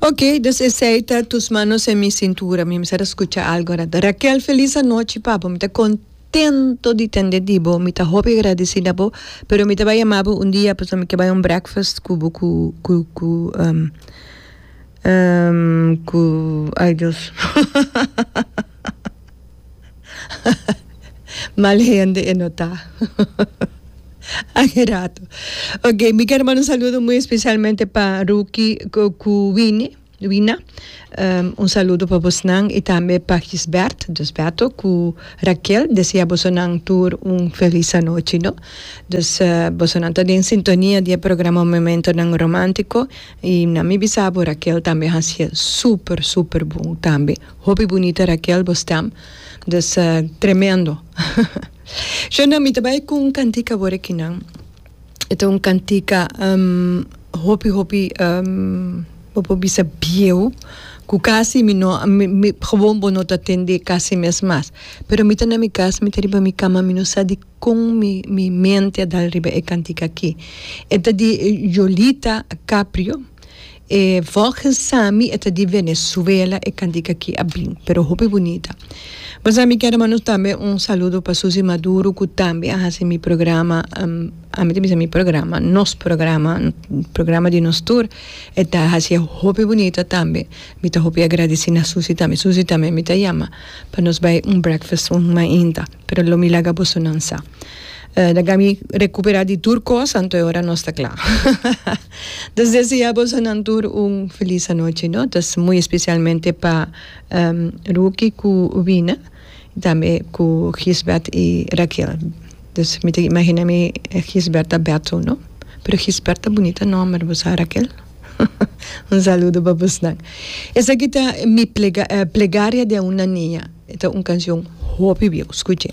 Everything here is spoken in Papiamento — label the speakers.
Speaker 1: Ok, dus esey ta Tus manos en mi cintura. Mi mester a scucha algo rato. Raquel, feliz anochi pa bo. Mi ta contento di tende di bo. Mi ta hopi agradeci na bo. Pero mi ta bay yama bo un dia pasobra mi ke bay un breakfast cu bo cu cu cu um um cu ay Dios. Mal hende e no ta. Aki rato. Ok, mi ker manda un saludo muy especialmente pa Ruki cu Winnie, Wina. Um, un saludo pa bosnan y tambe pa Gisbert, dus Beto, cu Raquel. Desea bosonan tur un feliz anochi, no? Dus uh, bosonan ta den sintonia di e programa Momentonan Romantico y na mi bisa bo Raquel tambe hacié super, super bon tambe. Hopi bunita Raquel bo stem dus tremendo. Shona mi ta bai ku un kantika awor akinan e ta un kantika hopi hopi bo por bisa bieu ku kasi mi no mi gewoon bo no ta tende kasi mes mas pero mi ta na mi kas mi ta riba mi kama mi no sa dikon mi mi mente a dal riba e kantika aki e ta di Yolita Caprio. E volgens Sami e ta di Venezuela e cantica aki a bin, pero hopi bunita. Bo sa mi kier manda tambe un saludo pa Susi Maduro cu tambe a haci mi programa, ami ta bisa mi programa, nos programa, programa di nos tur, e ta haci hopi bunita tambe. Mi ta hopi agradeci na Susi tambe. Susi tambe mi ta yama pa nos bay un breakfast un mainta, pero lo mi laga bosonan sa. Laga mi recupera di tur cos anto e ora nos ta cla. Dus desea bosonan tur un feliz anochi no. Dus muy especialmente pa Ruki cu Wina y tambe cu Gisbert y Raquel. Dus mi ta imagina mi Gisbert ta Beto no. Pero Gisbert ta bunita nomber bo sa Raquel. Un saludo pa bosnan. Esaki ta mi plegaria de una niña. E ta un cancion hopi bieu. Scuche.